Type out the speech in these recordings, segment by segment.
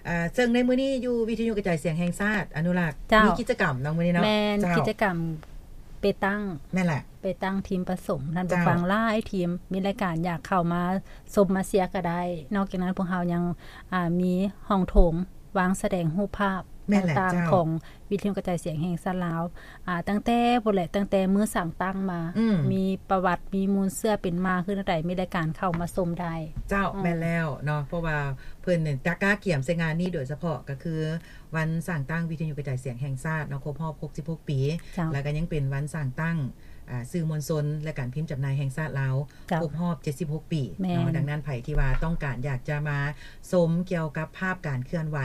ອ່າ ເຊິ່ງໃນມື້ນີ້ຢູ່ວິທະຍຸກະຈາຍສຽງແຫ່ງຊາດອະນຸລັກ ເຈົ້າ ມີກິດຈະກຳເນາະມື້ນີ້ເນາະ ແມ່ນ ເຈົ້າ ກິດຈະກຳເປຕັງ ແມ່ນແຫຼະ ເປຕັງທີມປະສົມ ທ່ານຜູ້ ເຈົ້າ ຟັງຫຼາຍທີມ ມີລາຍການຢາກເຂົ້າມາຊົມມາເຊຍກໍໄດ້. ນອກຈາກນັ້ນພວກເຮົາຍັງ ອ່າ ມີຫ້ອງໂຖງວາງສະແດງຮູບພາບ ແມ່ນແຫຼະ ຕ່າງໆ ເຈົ້າ ຂອງ ວິທະຍຸກະຈາຍສຽງແຫ່ງຊາດລາວ ອ່າ ຕັ້ງແຕ່ພຸ້ນແຫຼະ ຕັ້ງແຕ່ມື້ສ້າງຕັ້ງມາ ອືມ ມີປະຫວັດ ມີມູນເຊື້ອເປັນມາຄືແນວໃດ ມີລາຍການເຂົ້າມາຊົມໄດ້. ເຈົ້າ ອືມ ແມ່ນແລ້ວເນາະ ເພາະວ່າເພິ່ນນີ້ກະກະກຽມໃສ່ງານນີ້ໂດຍສະເພາະ ກໍຄືວັນສ້າງຕັ້ງວິທະຍຸກະຈາຍສຽງແຫ່ງຊາດເນາະ ຄົບຮອບຫົກສິບຫົກປີ ເຈົ້າ ແລ້ວກໍຍັງເປັນວັນສ້າງຕັ້ງ ອ່າ ສື່ມວນຊົນ ແລະ ການພິມຈຳໜ່າຍແຫ່ງຊາດລາວ ເຈົ້າ ຄົບຮອບເຈັດສິບຫົກປີ ແມ່ນ ເນາະ. ດັ່ງນັ້ນ ໃຜທີ່ວ່າຕ້ອງການຢາກຈະມາຊົມກ່ຽວກັບພາບການເຄື່ອນໄຫວ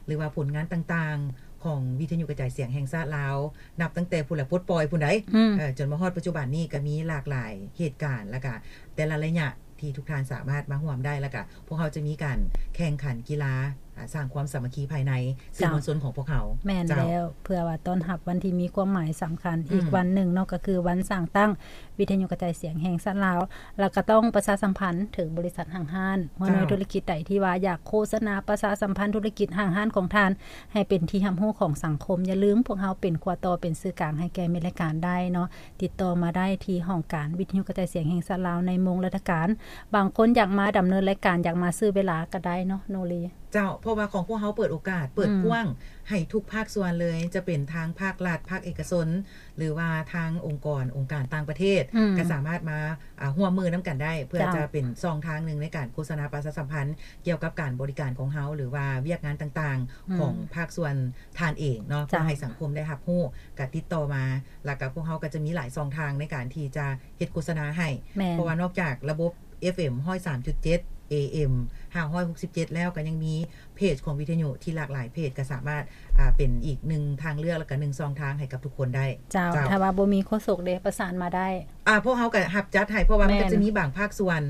ຫຼືວ່າຜົນງານຕ່າງໆ ຂອງວິທະຍຸກະຈາຍສຽງແຫ່ງຊາດລາວ ນັບຕັ້ງແຕ່ພຸ້ນລະ ປົດປ່ອຍພຸ້ນໃດ໋ ອືມ ເອີ ຈົນມາຮອດປັດຈຸບັນນີ້ ກໍມີຫຼາກຫຼາຍເຫດການ ແລ້ວກະແຕ່ລະໄລຍະທີ່ທຸກທ່ານສາມາດມາຮ່ວມໄດ້ ແລ້ວກະພວກເຮົາຈະມີການແຂ່ງຂັນກິລາ ອ່າ ສ້າງຄວາມສາມັກຄີພາຍໃນ ເຈົ້າ ສື່ມວນຊົນຂອງພວກເຮົາ. ແມ່ນ ເຈົ້າ ແລ້ວ ເພື່ອວ່າຕ້ອນຮັບວັນທີ່ມີຄວາມໝາຍສຳຄັນ ອືມ ອີກວັນໜຶ່ງເນາະ ກໍຄືວັນສ້າງຕັ້ງວິທະຍຸກະຈາຍສຽງແຫ່ງຊາດລາວ ແລ້ວກໍຕ້ອງປະຊາສຳພັນເຖິງບໍລິສັດຫ້າງຮ້ານ ຫົວໜ່ວຍ ເຈົ້າ ທຸລະກິດໃດທີ່ວ່າຢາກໂຄສະນາປະຊາສຳພັນທຸລະກິດຫ້າງຮ້ານຂອງທ່ານ ໃຫ້ເປັນທີ່ຮັບຮູ້ຂອງສັງຄົມ. ຢ່າລືມ ພວກເຮົາເປັນຂົວຕໍ່ ເປັນສື່ກາງໃຫ້ແກ່ມິດລາຍການໄດ້ເນາະ. ຕິດຕໍ່ມາໄດ້ທີ່ຫ້ອງການວິທະຍຸກະຈາຍສຽງແຫ່ງຊາດລາວໃນໂມງລາຊະການ. ບາງຄົນຢາກມາດຳເນີນລາຍການ ຢາກມາຊື້ເວລາກໍໄດ້ເນາະ ໂນລີ. ເຈົ້າ ເພາະວ່າຂອງພວກເຮົາເປີດໂອກາດ ເປີດ ອືມ ກວ້າງໃຫ້ທຸກພາກສ່ວນເລີຍ ຈະເປັນທາງພາກລັດ ພາກເອກະຊົນ ຫຼືວ່າທາງອົງກອນ ອົງການຕ່າງປະເທດ ອືມ ກໍສາມາດມາ ອ່າ ຮ່ວມມືນຳກັນໄດ້ ເພື່ອ ເຈົ້າ ຈະເປັນຊ່ອງທາງໜຶ່ງໃນການໂຄສະນາປະຊາສຳພັນກ່ຽວກັບການບໍລິການຂອງເຮົາ ຫຼືວ່າວຽກງານຕ່າງໆ ອືມ ຂອງພາກສ່ວນທ່ານເອງເນາະ ເຈົ້າ ເພື່ອໃຫ້ສັງຄົມໄດ້ຮັບຮູ້ ກໍຕິດຕໍ່ມາ ແລ້ວກໍພວກເຮົາກໍຈະມີຫຼາຍຊ່ອງທາງໃນການທີ່ຈະເຮັດໂຄສະນາໃຫ້ ແມ່ນ ເພາະວ່ານອກຈາກລະບົບ ເອັຟເອັມ ຮ້ອຍສາມຈຸດເຈັດ ເອເອັມ ຫ້າຮ້ອຍຫົກສິບເຈັດ ແລ້ວ ກໍຍັງມີເພຈຂອງວິທະຍຸທີ່ຫຼາກຫຼາຍເພຈ ກໍສາມາດ ອ່າ ເປັນອີກໜຶ່ງທາງເລືອກ ແລ້ວກໍໜຶ່ງຊ່ອງທາງໃຫ້ກັບທຸກຄົນໄດ້. ເຈົ້າ ເຈົ້າ ຖ້າວ່າບໍ່ມີໂຄສົກເດ ປະສານມາໄດ້. ອ່າ ພວກເຮົາກໍຮັບຈັດໃຫ້ ເພາະວ່າມັນ ແມ່ນ ກໍຈະມີບາງພາກສ່ວນ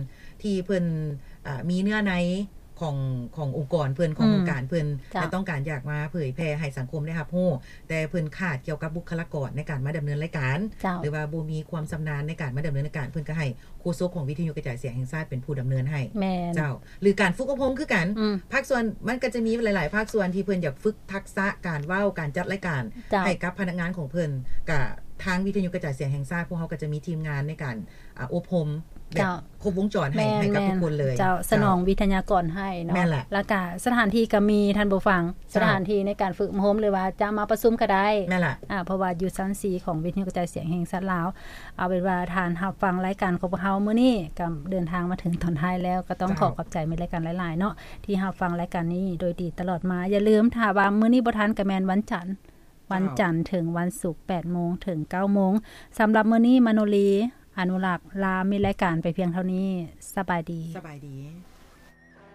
ທີ່ເພິ່ນ ອ່າ ມີເນື້ອໃນຂອງ ຂອງອົງກອນເພິ່ນ ຂອງ ອືມ ອົງການເພິ່ນ ເຈົ້າ ແລະ ຕ້ອງການຢາກມາເຜີຍແຜ່ໃຫ້ສັງຄົມໄດ້ຮັບຮູ້ ແຕ່ເພິ່ນຂາດກ່ຽວກັບບຸກຄະລາກອນໃນການມາດຳເນີນລາຍການ ເຈົ້າ ຫຼືວ່າບໍ່ມີຄວາມຊຳນານໃນການມາດຳເນີນລາຍການ ເພິ່ນກໍໃຫ້ ໂຄສົກຂອງວິທະຍຸກະຈາຍສຽງແຫ່ງຊາດເປັນຜູ້ດຳເນີນໃຫ້. ແມ່ນ ເຈົ້າ ຫຼືການຝຶກອົບຮົມຄືກັນ ອືມ ພາກສ່ວນມັນກໍຈະມີຫຼາຍໆພາກສ່ວນທີ່ເພິ່ນຢາກຝຶກທັກສະການເວົ້າ ການຈັດລາຍການ ເຈົ້າ ໃຫ້ກັບພະນັກງານຂອງເພິ່ນ ກະທາງວິທະຍຸກະຈາຍສຽງແຫ່ງຊາດ ພວກເຮົາກໍຈະມີທີມງານໃນການ ອ່າ ອົບຮົມແບບ ເຈົ້າ ຄົບວົງຈອນໃຫ້ ແມ່ນ ໃຫ້ກັບ ແມ່ນ ທຸກຄົນເລີຍ. ເຈົ້າ ເຈົ້າ ສະໜອງວິທະຍາກອນໃຫ້ເນາະ ແມ່ນລະ ແລ້ວກະສະຖານທີ່ກໍມີ ທ່ານຜູ້ຟັງ ເຈົ້າ ສະຖານທີ່ໃນການຝຶກອົບຮົມ ຫຼືວ່າຈະມາປະຊຸມກໍໄດ້ ແມ່ນລະ ອ່າ ເພາະວ່າຢູ່ຊັ້ນສີ່ຂອງວິທະຍຸກະຈາຍສຽງແຫ່ງຊາດລາວ. ເອົາເປັນວ່າທ່ານຮັບຟັງລາຍການຂອງພວກເຮົາມື້ນີ້ ກໍເດີນທາງມາເຖິງຕອນທ້າຍແລ້ວ ກໍຕ້ອງ ເຈົ້າ ຂໍຂອບໃຈມິດລາຍການຫຼາຍໆເນາະ ທີ່ຮັບຟັງລາຍການນີ້ໂດຍດີຕະຫຼອດມາ. ຢ່າລືມ ຖ້າວ່າມື້ນີ້ບໍ່ທັນ ກໍແມ່ນວັນຈັນ ວັນຈັນເຖິງວັນສຸກ ແປດໂມງເຖິງເກົ້າໂມງ. ສຳລັບມື້ນີ້ ມະໂນລີ ອະນຸລັກ ລາມິດລາຍການໄປພຽງເທົ່ານີ້. ສະບາຍດີ. ສະບາຍດີ.